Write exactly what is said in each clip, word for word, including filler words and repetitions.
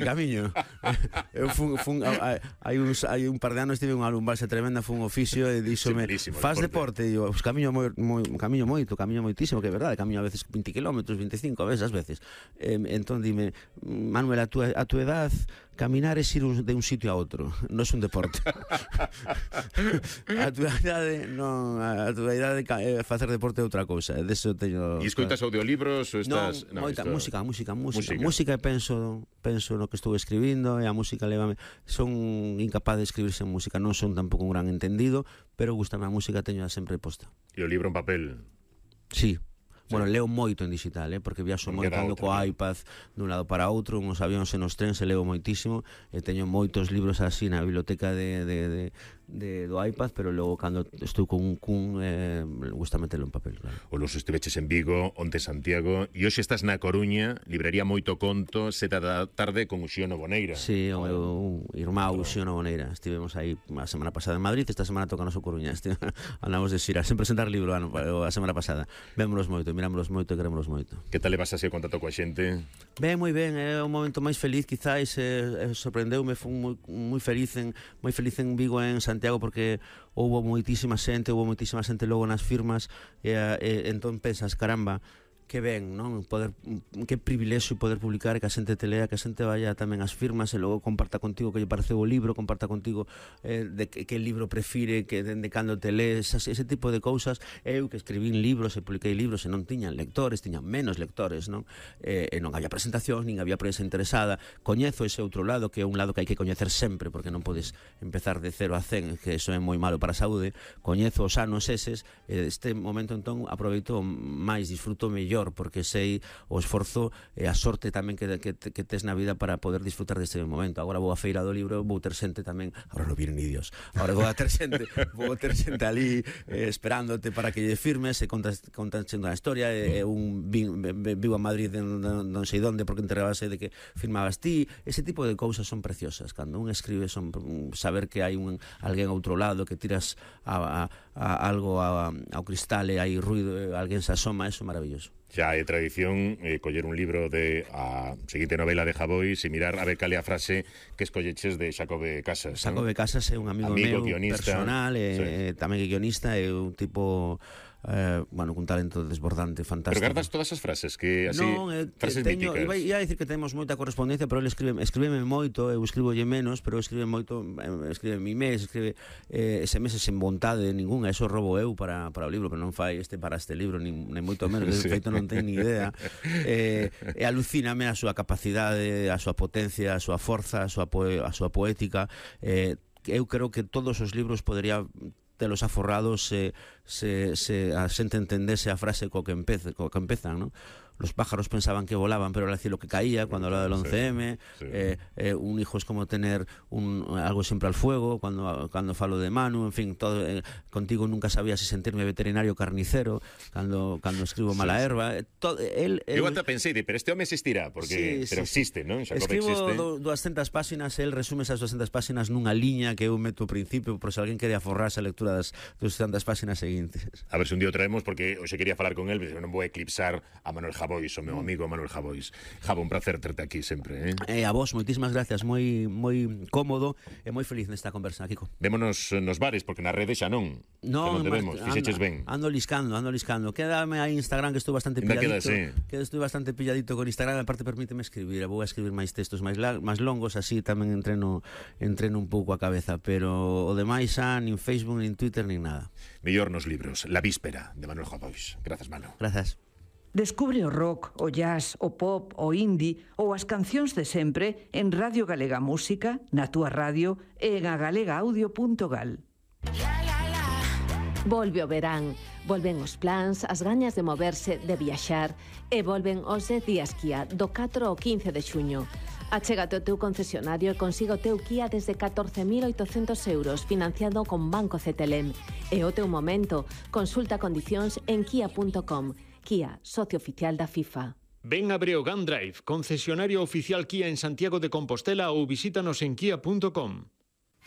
Camiño. Eu fun, fun, hai, uns, hai un par de anos tive unha lumbalgia tremenda, fun un oficio e díxome, faz deporte, e eu, pues, camiño, moi, moi, camiño moito, camiño moitísimo, que é verdade, camiño a veces vinte kilómetros, veinticinco, a veces, as veces. Eh, entón dime, Manuel, a tu, a tu edad, caminar é ir un, de un sitio a outro, non é un deporte. A tu idade, non, a tu idade é facer deporte é outra cousa, de eso teño... E escoitas audiolibros ou estás... Non, no, moita, esto... música, música, música, música, música e penso, penso no que estou escribindo, e a música levame, son incapaz de escribir sen música, non son tampouco un gran entendido, pero gustame a música, teño sempre posta. E o libro en papel? Sí. Bueno, leo moito en digital, eh, porque viaxo moito ando co iPad dun lado para outro, nos avións e nos trens, e leo moitísimo, e teño moitos libros así na biblioteca de, de, de, de, do iPad, pero logo cando estou con un cun, eh, gusta metelo en papel, claro. O los estiveches en Vigo, onte Santiago, e hoxe estás na Coruña, librería Moito Conto, seta da tarde con Uxío Noboneira. Sí, o meu irmão Uxío Noboneira, estivemos aí a semana pasada en Madrid, esta semana toca noso Coruña, este, andamos de xira, sen presentar libro ano, a semana pasada, vémonos moito, mirámonos moito e querémonos moito. Que tal levas así o contacto coa xente? Ben, moi ben, é o momento máis feliz, quizáis, eh, sorprendeume, fui moi, moi feliz en moi feliz en Vigo, en Santiago, porque houbo moitísima xente, houbo moitísima xente logo nas firmas, e, e entón pensas, caramba, que ben, non? Poder, que privilexio poder publicar, que a xente te lea, que a xente vaya tamén ás firmas e logo comparta contigo que lle pareceu o libro, comparta contigo eh, de que, que libro prefire, que dende cando te lees, ese tipo de cousas. Eu que escribín libros e publiquei libros e non tiñan lectores, tiñan menos lectores, non? Eh, e non había presentación, nin había prensa interesada. Coñezo ese outro lado, que é un lado que hai que coñecer sempre, porque non podes empezar de cero a cen, que eso é moi malo para a saúde. Coñezo os anos eses, e este momento entón aproveito máis, disfruto mellor, porque sei o esforzo e a sorte tamén que, que, que tes na vida para poder disfrutar deste momento. Agora vou a feira do libro, vou ter xente tamén, agora non vienen ni Dios, agora vou a ter xente, vou ter xente ali eh, esperándote para que lle firmes e contas, contas xendo a historia, e, e un vivo a Madrid non, non sei donde porque enterrabase de que firmabas ti. Ese tipo de cousas son preciosas, cando un escribe, son saber que hai un alguén a outro lado, que tiras a, a, a algo a, ao cristal e hai ruido, alguén se asoma, eso é maravilloso. Xa é tradición eh, coller un libro de a seguinte novela de Javois e mirar a ver cal é a frase que escolleches de Xacobe Casas. Xacobe, ¿no? Casas é un amigo, amigo meu guionista, personal, e sí. Tamén é guionista, é un tipo... Eh, bueno, un talento desbordante, fantástico. Pero guardas todas as frases que así, non, eh, frases teño, míticas. Iba a dicir que temos moita correspondencia, pero ele escribe, escríbeme moito, eu escribolle menos, pero escribe moito, escribe mi mes, escribe eh, ese mes sen vontade ninguna, eso robo eu para, para o libro, pero non fai este para este libro, nin, nin moito menos, de sí. Feito non ten ni idea. Eh, e alucíname a súa capacidade, a súa potencia, a súa forza, a súa, poe, a súa poética. Eh, eu creo que todos os libros podería telos aforrados se, se, se a xente entendese a frase co que, empece, co que empezan, non? Los pájaros pensaban que volaban, pero era decir lo que caía cuando hablaba del once eme. Sí, sí. Eh, eh, un hijo es como tener un, algo siempre al fuego, cuando, cuando falo de Manu, en fin, todo, eh, contigo nunca sabía si sentirme veterinario o carnicero, cuando, cuando escribo Mala sí, Herba. Eh, todo, él, él, eu ata pensei, pero este home existirá, porque, sí, pero sí, existe, non? Escribo do, doscientas páxinas, él resume esas doscientas páxinas nunha liña que eu meto ao principio, por se alguén quería forrarse a lectura das doscientas páxinas seguintes. A ver se un día o traemos, porque hoxe quería falar con él, pero non vou eclipsar a Manuel Javois, o meu amigo Manuel Javois. Javo, un placer terte aquí sempre, eh? Eh, a vos, moitísimas gracias, moi moi cómodo e moi feliz nesta conversa, Kiko. Vémonos nos bares, porque na rede xa non. Non, non debemos, fixeches ben. Ando liscando, ando liscando. Quédame aí Instagram, que estou bastante pilladito. Queda, sí. Que estou bastante pilladito con Instagram, aparte permíteme escribir, vou a escribir máis textos máis máis longos, así tamén entreno entreno un pouco a cabeza, pero o demais xa nin Facebook, nin Twitter, nin nada. Mellor nos libros, La Víspera, de Manuel Javois. Grazas, Manu. Grazas. Descubre o rock, o jazz, o pop, o indie ou as cancións de sempre en Radio Galega Música, na túa radio e en agalegaaudio punto gal. Volve o verán, volven os plans, as gañas de moverse, de viaxar e volven os dez días Kia do catro ao quince de xuño. Achégate ao teu concesionario e consiga o teu Kia desde catorce mil oitocentos euros financiado con Banco C T L M. E o teu momento, consulta condicións en kia punto com. Kia, socio oficial da FIFA. Ven a Breogán Drive, concesionario oficial Kia en Santiago de Compostela ou visítanos en kia punto com.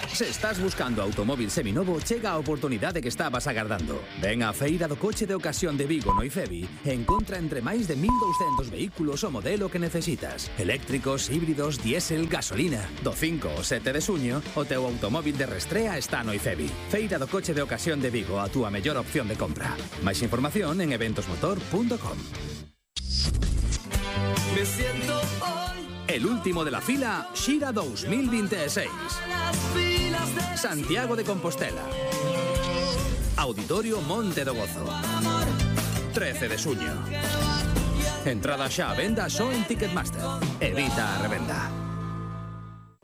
Se estás buscando automóvil seminovo, chega a oportunidade que estabas agardando. Ven á Feira do Coche de Ocasión de Vigo no IFEBI e encontra entre máis de mil douscentos vehículos o modelo que necesitas. Eléctricos, híbridos, diésel, gasolina. Do cinco ao sete de suño, o teu automóvil de restrea está no IFEBI. Feira do Coche de Ocasión de Vigo, a túa mellor opción de compra. Máis información en eventosmotor punto com. Me siento hoy El último de la fila, Xira dos mil veintiséis. Santiago de Compostela. Auditorio Monte do Gozo. trece de suño. Entrada xa a venda só en Ticketmaster. Evita a revenda.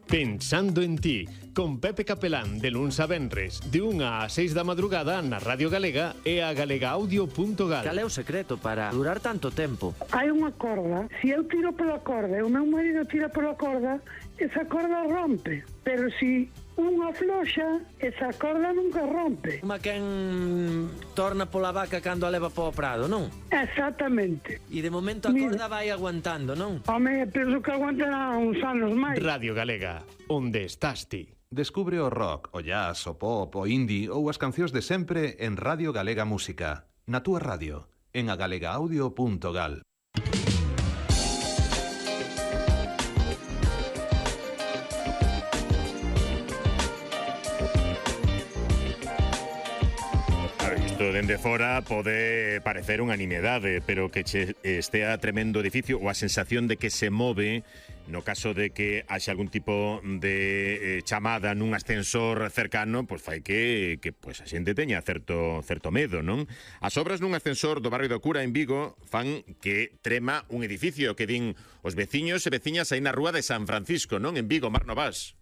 Pensando en ti, con Pepe Capelán, de luns a venres, de unha a seis da madrugada na Radio Galega e a galegaaudio punto gal. Cal é o secreto para durar tanto tempo? Hai unha corda, se eu tiro pola corda e o meu marido tira pola corda, esa corda rompe, pero se unha floxa, esa corda nunca rompe. Uma quen torna pola vaca cando a leva po prado, non? Exactamente. E de momento a corda vai aguantando, non? Home, penso que aguantará uns anos máis. Radio Galega, onde estás ti? Descubre o rock, o jazz, o pop, o indie ou as cancións de sempre en Radio Galega Música. Na túa radio, en a galegaaudio punto gal. Dende fora pode parecer unha nimiedade, pero que che estea tremendo edificio ou a sensación de que se move no caso de que haxe algún tipo de eh, chamada nun ascensor cercano, pois fai que, que pois a xente teña certo, certo medo, non? As obras nun ascensor do barrio do Cura en Vigo fan que trema un edificio que din os veciños e veciñas aí na rúa de San Francisco, non? En Vigo, Mar Novas.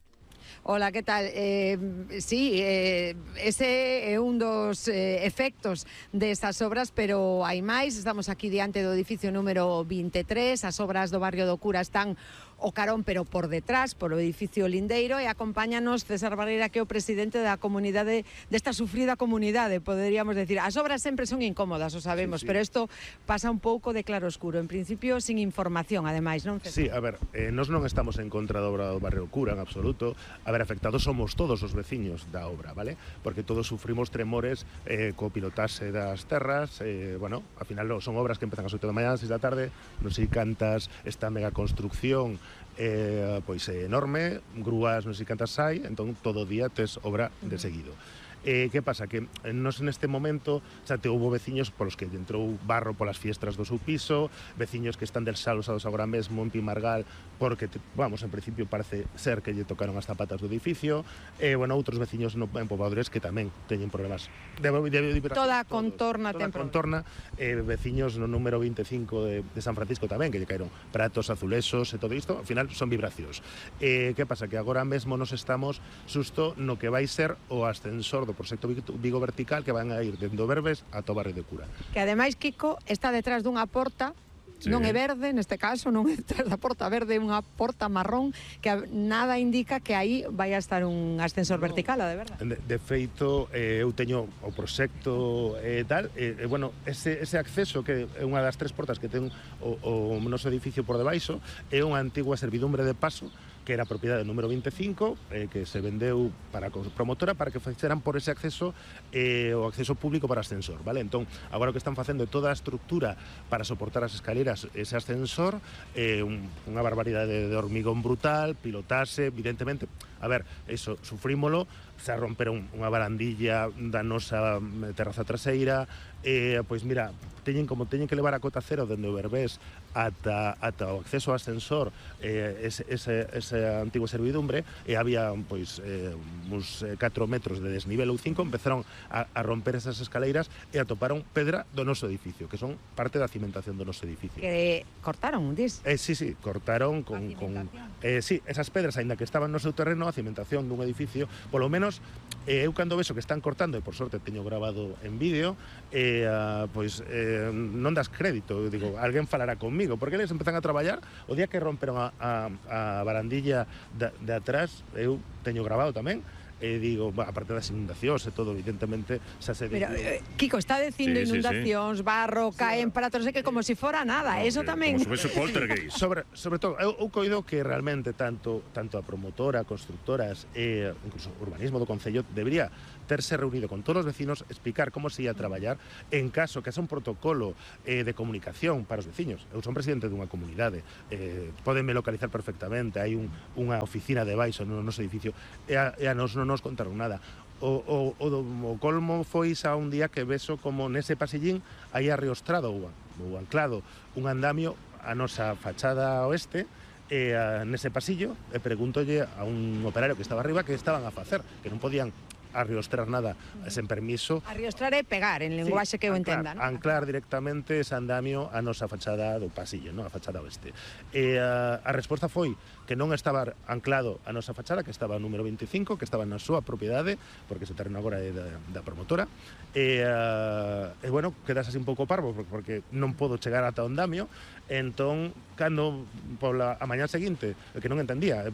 Hola, que tal? Eh, sí, eh, ese é un dos eh, efectos destas obras, pero hai máis. Estamos aquí diante do edificio número vinte e tres. As obras do barrio do Cura están o carón, pero por detrás, por o edificio lindeiro, e acompáñanos César Barreira, que é o presidente da comunidade, desta sufrida comunidade, poderíamos decir. As obras sempre son incómodas, o sabemos, sí, sí. Pero isto pasa un pouco de claro oscuro, en principio sin información, ademais, non, César? Sí, a ver, eh, nós non estamos en contra da obra do barrio Cura, en absoluto. A ver, afectados somos todos os veciños da obra, vale? Porque todos sufrimos tremores eh, co pilotaxe das terras, eh, bueno, ao final son obras que empezan a oito da mañá, seis da tarde, non sei cantas, esta mega construcción eh, pois é enorme, grúas non sei cantas hai, entón todo o día tes obra de seguido. Eh, que pasa? Que nos neste momento xa te houve veciños polos que entrou barro polas fiestras do seu piso, veciños que están desalosados agora mesmo en Pimargal porque, te, vamos, en principio parece ser que lle tocaron as zapatas do edificio, e, eh, bueno, outros veciños no, en Pobadores que tamén teñen problemas de, de, de, de toda a contorna toda a contorna, eh, veciños no número vinte e cinco de, de San Francisco tamén, que lle caeron pratos, azulexos e todo isto, ao final son vibracións. Eh, que pasa? Que agora mesmo nos estamos susto no que vai ser o ascensor do proxecto Vigo Vertical, que van a ir dende o Verbes a o barrio de Cura. Que ademais, Kiko, está detrás dunha porta, sí, non é verde, neste caso, non é detrás da porta verde, é unha porta marrón, que nada indica que aí vai a estar un ascensor no, vertical, a de verdade. De, de feito, eh, eu teño o proxecto e eh, tal, e eh, bueno, ese, ese acceso, que é unha das tres portas que ten o, o noso edificio por debaixo, é unha antigua servidumbre de paso, que era propiedade número vinte e cinco, eh, que se vendeu para a promotora para que fixeran por ese acceso eh, o acceso público para ascensor, vale? Entón, agora o que están facendo é toda a estructura para soportar as escaleras, ese ascensor, eh, un, unha barbaridade de hormigón brutal, pilotase, evidentemente, a ver, eso, sufrímolo, se romperon unha barandilla da nosa terraza traseira, eh, pois mira, teñen como teñen que levar a cota cero dende o Verbés ata, ata o acceso ao ascensor, eh, ese, ese, ese antigo servidumbre, e había pois eh, uns catro metros de desnivel ou cinco, empezaron a, a romper esas escaleiras e atoparon pedra do noso edificio, que son parte da cimentación do noso edificio. Que cortaron, dis? Eh, sí, sí, cortaron con... con eh, sí, esas pedras, aínda que estaban no seu terreno, a cimentación dun edificio, polo menos, eh, eu cando vexo que están cortando, e por sorte teño grabado en vídeo, eh, uh, pois eh, non das crédito, eu digo, alguén falará conmigo, porque eles empezan a traballar, o día que romperon a, a, a barandilla de, de atrás, eu teño grabado tamén, e digo, bah, aparte das inundacións e todo, evidentemente, xa se Pero, eh, Kiko, está dicindo Sí, sí, inundacións, sí. barro, caen para non sei que, como si fora nada. No, Eso que, tamén... como se fose poltergeist. sobre, sobre todo, eu, eu coido que realmente tanto tanto a promotora, constructoras e incluso urbanismo do Concello debería terse reunido con todos os vecinos, explicar como se ia a traballar en caso que haxa un protocolo eh, de comunicación para os veciños. Eu son presidente dunha comunidade, eh, podenme localizar perfectamente, hai un, unha oficina de baixo no noso edificio e a, e a nos non nos contaron nada. O, o, o, o colmo foi xa un día que vexo como nese pasillín aí arreostrado ou, ou anclado un andamio a nosa fachada oeste e a, nese pasillo e pregúntolle a un operario que estaba arriba que estaban a facer, que non podían arriostrar nada sen permiso. Arriostrar é pegar, en lenguaxe que eu entenda, non? Anclar directamente ese andamio a nosa fachada do pasillo, non? A fachada oeste. E a, a resposta foi que non estaba anclado a nosa fachada, que estaba número veinticinco, que estaba na súa propiedade, porque ese terreno agora é da, da promotora, e, uh, e bueno, quedas así un pouco parvo, porque non podo chegar ata o andamio, entón, cando pola a mañá seguinte, que non entendía,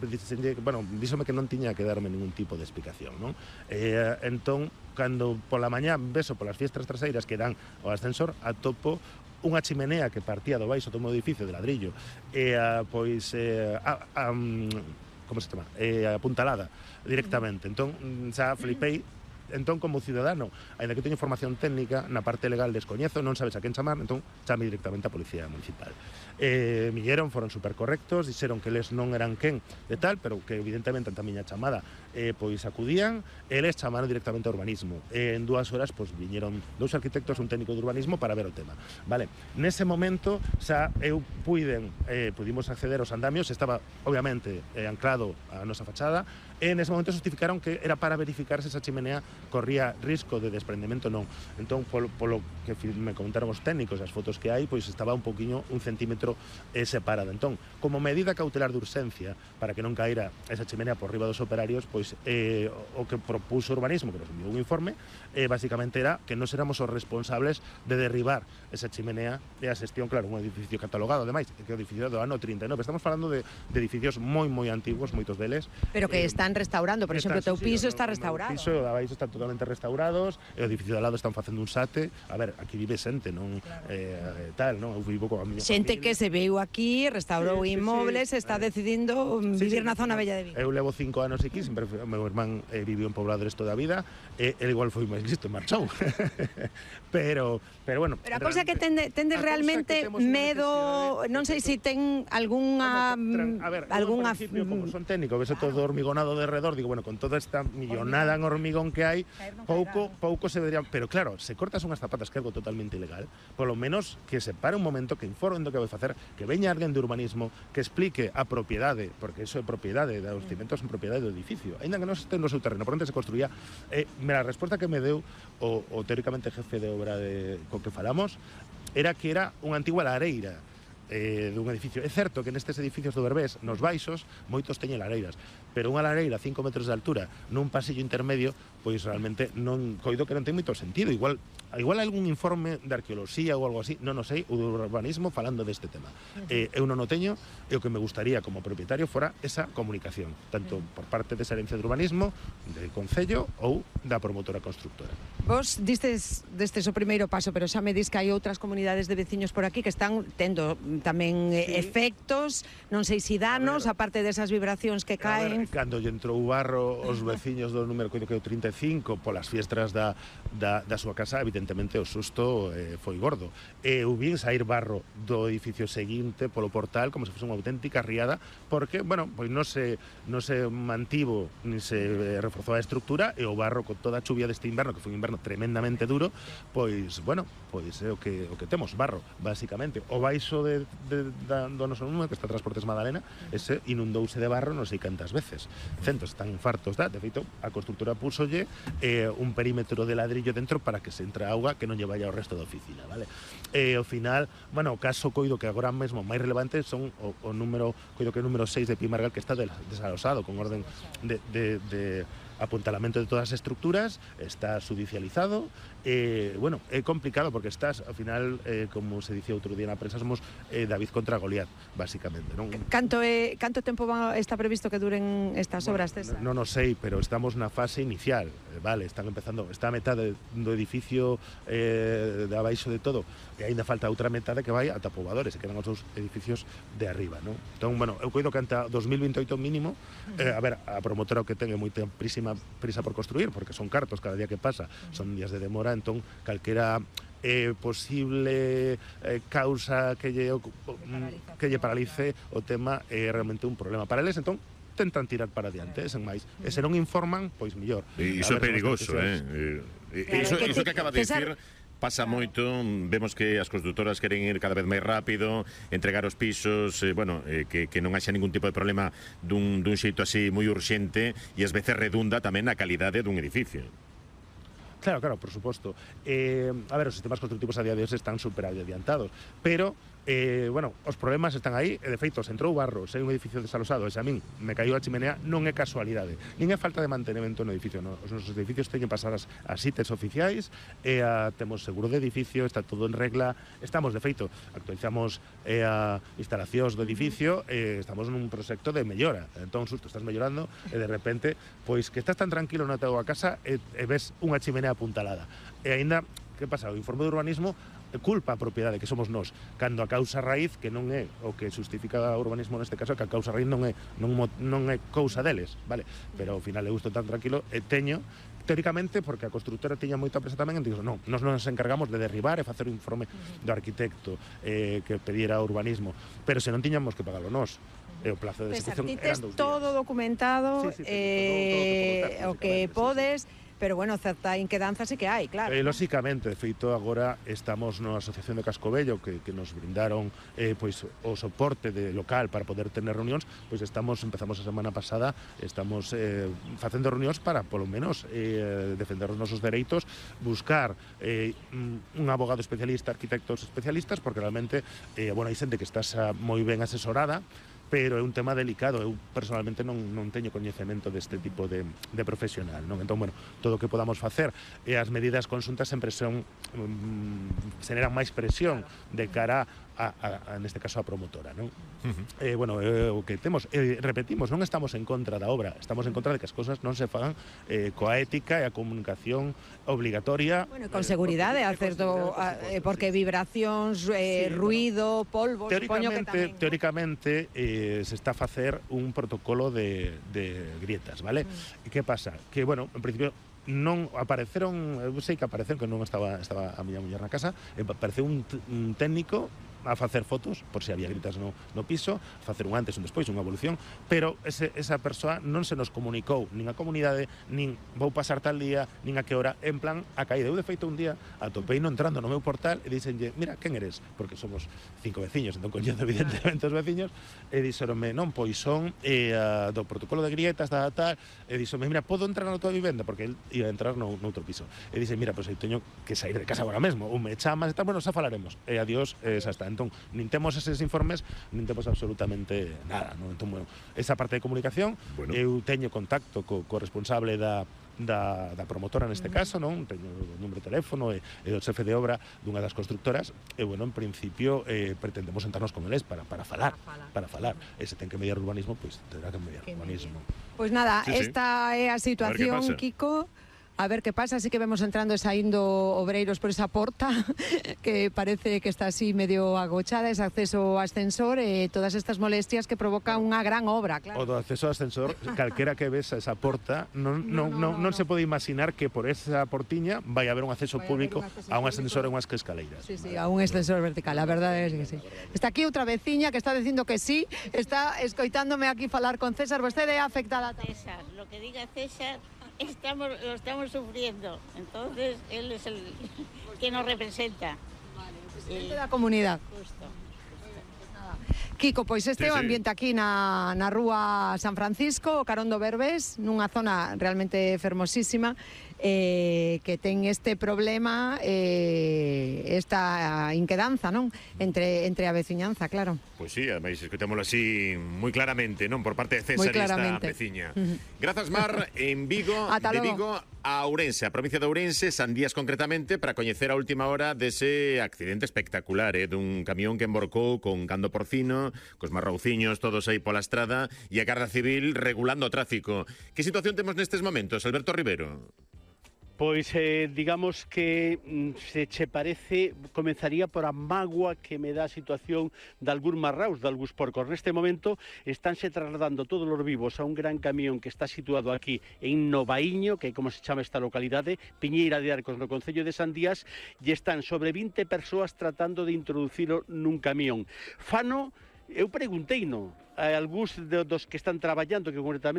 bueno, díxome que non tiña que darme ningún tipo de explicación, non? E, entón, cando pola mañá beso polas fiestras traseiras que dan ao ascensor, atopo unha chimenea que partía do baixo do meu edificio de ladrillo e a, pois eh, a, a, como se chama? Eh, apuntalada directamente. Entón, xa flipei. Entón, como ciudadano, ainda que teño información técnica, na parte legal descoñezo, non sabes a quen chamar, entón chame directamente a Policía Municipal. Eh, milleron, foron super correctos, dixeron que eles non eran quen de tal, pero que evidentemente anta miña chamada eh, pois acudían, eles chamaron directamente a urbanismo. Eh, en dúas horas, pois viñeron dous arquitectos, un técnico de urbanismo para ver o tema. Vale, nese momento, xa eu puiden, eh, pudimos acceder aos andamios, estaba, obviamente, eh, anclado a nosa fachada, e nese momento justificaron que era para verificar se esa chimenea corría risco de desprendemento non. Entón, polo, polo que me comentaron os técnicos, as fotos que hai, pois estaba un poquinho, un centímetro eh, separada. Entón, como medida cautelar de urxencia para que non caíra esa chimenea por riba dos operarios, pois eh, o que propuso urbanismo, que nos enviou un informe, eh, basicamente era que non éramos os responsables de derribar esa chimenea e a xestión, claro, un edificio catalogado, ademais, que é o edificio do ano trinta e nove. Estamos falando de, de edificios moi, moi antiguos, moitos deles. Pero que eh, están restaurando, por exemplo, o teu piso sí, está o, restaurado. O piso e o abaixo están totalmente restaurados, e o edificio de al lado están facendo un sate. A ver, aquí vive xente, non claro. eh, tal, non? Eu vivo coa miña xente familia. Que se veu aquí, restaurou sí, inmobles, sí, sí. Está decidindo sí, vivir sí, na zona bella de Vigo. Eu levo cinco anos aquí, sempre o meu irmán eh, viviu en Pobladores toda a vida, e el igual foi máis listo, marchou. pero, pero bueno... Pero a cousa que tende, tende realmente medo, non sei se si ten algunha... A ver, algunha como son técnico, ves claro. Todo hormigonado de redor, digo, bueno, con toda esta millonada en hormigón que hai, pouco, pouco se vería... Pero claro, se cortas unhas zapatas, que é algo totalmente ilegal, polo menos que se pare un momento, que informen do que vai facer, que veña alguén de urbanismo, que explique a propiedade, porque iso é propiedade, os cimentos son propiedade do edificio, ainda que non este no seu terreno, por onde se construía. Eh, mira, a resposta que me deu o, o teóricamente jefe de obra de, co que falamos, era que era unha antigua lareira eh, dun edificio. É certo que nestes edificios do Berbés, nos baixos, moitos teñen lareiras, pero unha lareira a cinco metros de altura nun pasillo intermedio, pois realmente non coido que non ten moito sentido. Igual igual hai algún informe de arqueoloxía ou algo así, non o sei, o do urbanismo falando deste tema. Uh-huh. Eh, eu non o teño, e o que me gustaría como propietario fora esa comunicación, tanto uh-huh. por parte desa herencia de urbanismo, del Concello ou da promotora constructora. Vos distes destes o primeiro paso, pero xa me dis que hai outras comunidades de veciños por aquí que están tendo tamén sí. efectos, non sei se si danos, a aparte desas vibracións que caen. Ver, cando lle entrou o barro, os veciños do número coido que é o trinta e cinco, polas fiestras da, da, da súa casa, evidentemente o susto eh, foi gordo. E eu vin sair barro do edificio seguinte polo portal como se fose unha auténtica riada, porque, bueno, pois non se, non se mantivo ni se eh, reforzou a estructura, e o barro con toda a chuvia deste inverno, que foi un inverno tremendamente duro, pois, bueno, pois é o que, o que temos, barro, basicamente. O baixo de, de, da, do noso número, que está Transportes Madalena, ese inundouse de barro non sei cantas veces. Centos están fartos da, de feito, a constructora púsolle eh, un perímetro de ladrillo dentro para que se entra auga que non lle vaya ao resto da oficina, vale? E ao final, bueno, o caso coido que agora mesmo máis relevante son o, o número, coido que o número seis de Pimargal, que está desalosado con orden de, de, de apuntalamento de todas as estructuras, está judicializado, eh, bueno, é complicado porque estás, ao final, eh, como se dicía outro día na prensa, somos eh, David contra Goliat, básicamente, non? Canto, é, canto tempo va, está previsto que duren estas bueno, obras, César? Non o sei, pero estamos na fase inicial, eh, vale, están empezando, está a metade do edificio eh, de abaixo de todo, e aínda falta outra metade que vai ata Pobadores, e quedan os dous edificios de arriba, non? Entón, bueno, eu coido que anta dos mil vinte e oito mínimo, eh, a ver, a promotora o que ten é moita prísima, prisa por construir, porque son cartos cada día que pasa, son días de demora, entón, calquera eh, posible eh, causa que lle, que lle paralice o tema é realmente un problema para eles, entón, tentan tirar para adiante, sen máis. E se non informan, pois mellor. E iso é perigoso, eh? E iso, iso que acaba de dicir pasa moito, vemos que as constructoras queren ir cada vez máis rápido, entregar os pisos, eh, bueno, eh, que, que non haxa ningún tipo de problema dun, dun xeito así moi urxente e ás veces redunda tamén na calidade dun edificio. Claro, claro, por suposto. Eh, a ver, os sistemas constructivos a día de hoxe están super adiantados, pero Eh, bueno, os problemas están aí, e de feito, se entrou barro, se hai un edificio desalosado, e se a min me caiu a chimenea, non é casualidade, nin é falta de mantenimento no edificio, no? Os nosos edificios teñen pasadas as cites oficiais, e a, temos seguro de edificio, está todo en regla, estamos, de feito, actualizamos e a instalacións do edificio, e estamos nun proxecto de mellora, entón, susto, estás mellorando, e de repente, pois que estás tan tranquilo na tua casa, e, e ves unha chimenea apuntalada, e aínda, que pasa, o informe de urbanismo culpa a propiedade, que somos nós, cando a causa raíz, que non é o que justifica o urbanismo neste caso, que a causa raíz non é non, non é cousa deles, vale? Pero ao final eu estou tan tranquilo e teño teóricamente, porque a constructora tiña moita presa tamén, e digo, non, nós non nos encargamos de derribar e facer o informe do arquitecto eh, que pediera urbanismo, pero se non tiñamos que pagalo nós. E o plazo de execución eran dous días. Todo documentado, sí, sí, eh, todo, todo, todo, o que podes, sí, sí. Pero, bueno, certa inquedanza sí que hai, claro. Eh, lóxicamente, de feito, agora estamos na Asociación de Cascobello, que, que nos brindaron eh, pois, o soporte de local para poder tener reunións, pois estamos, empezamos a semana pasada, estamos eh, facendo reunións para, polo menos, eh, defender os nosos dereitos, buscar eh, un abogado especialista, arquitectos especialistas, porque realmente, eh, bueno, hai xente que estás moi ben asesorada, pero é un tema delicado, eu personalmente non, non teño coñecemento deste tipo de, de profesional, non? Entón, bueno, todo o que podamos facer e as medidas conxuntas sempre son um, generan máis presión de cara a, a, a neste caso a promotora, non? Uh-huh. eh, bueno, eh, o que temos, eh, repetimos, non estamos en contra da obra, estamos en contra de que as cousas non se fagan eh, coa ética e a comunicación obligatoria. Bueno, con seguridade, eh, certo, eh, porque vibracións, eh, sí, ruido, polvo, supoño que tamén, ¿no? Teóricamente, eh, se está a facer un protocolo de, de grietas, vale? Mm. E que pasa? Que, bueno, en principio non apareceron, eu sei que apareceron, que non estaba estaba a miña muller na casa, apareceu un, un técnico a facer fotos, por se había gritas no, no piso, a facer un antes, un despois, unha evolución, pero ese, esa persoa non se nos comunicou nin a comunidade, nin vou pasar tal día, nin a que hora, en plan a caída. Eu, de feito, un día atopei no entrando no meu portal e dixenlle, mira, quen eres? Porque somos cinco veciños, entón coñendo evidentemente os veciños, e dixeronme, non, pois son eh, a, do protocolo de grietas, da tal, e dixeronme, mira, podo entrar na tua vivenda? Porque el ia entrar no, no outro piso. E dixe, mira, pois eu teño que sair de casa agora mesmo, ou me chamas e tal, bueno, xa falaremos. E adiós, eh, xa está. Entón, nin temos eses informes, nin temos absolutamente nada, non? Entón, bueno, esa parte de comunicación, bueno, eu teño contacto co, co responsable da Da, da promotora neste caso, non? Teño o número de teléfono e, e o xefe de obra dunha das constructoras e, bueno, en principio eh, pretendemos sentarnos con eles para, para falar, para falar, para falar. E se ten que mediar urbanismo, pois pues, terá que mediar que urbanismo. Pois pues nada, sí, esta sí. é a situación, Kiko. A ver que pasa, así que vemos entrando e saindo obreiros por esa porta que parece que está así medio agochada, ese acceso ao ascensor e todas estas molestias que provoca unha gran obra, claro. O do acceso ao ascensor, calquera que ves a esa porta, non, non, non, non, non se pode imaginar que por esa portiña vai haber un acceso público un acceso a un ascensor e unhas escaleiras. Sí, sí, a un ascensor vertical, a verdade é que sí. Está aquí outra veciña que está dicindo que sí, está escoitándome aquí falar con César, vostede é afectada tamén. César, lo que diga César, estamos, lo estamos sufriendo, entonces él es el que nos representa. Vale, el presidente eh, da comunidad. Justo. Kiko, pois este é Sí, o sí. ambiente aquí na, na rúa San Francisco, o Carón do Berbés, nunha zona realmente fermosísima, eh, que ten este problema, eh, esta inquedanza, non? Entre, entre a veciñanza, claro. Pois sí, ademais escutémolo así moi claramente, non? Por parte de César e esta veciña. Uh -huh. Grazas, Mar, en Vigo, Ata de logo. Vigo a Ourense, a provincia de Ourense, Sandías concretamente, para coñecer a última hora dese accidente espectacular, eh, dun camión que emborcou con gando porcino, cos marrouciños todos aí pola estrada, e a Garda Civil regulando o tráfico. Que situación temos nestes momentos, Alberto Rivero? Pois, eh, digamos que se che parece, comenzaría por a mágoa que me dá a situación de algún marraus, de algúns porcos. Neste momento estánse trasladando todos os vivos a un gran camión que está situado aquí en Novaíño, que é como se chama esta localidade, Piñeira de Arcos, no concello de Sandías, e están sobre vinte persoas tratando de introducilo nun camión. Fano, eu pregunteino a algúns dos que están traballando, que concretamente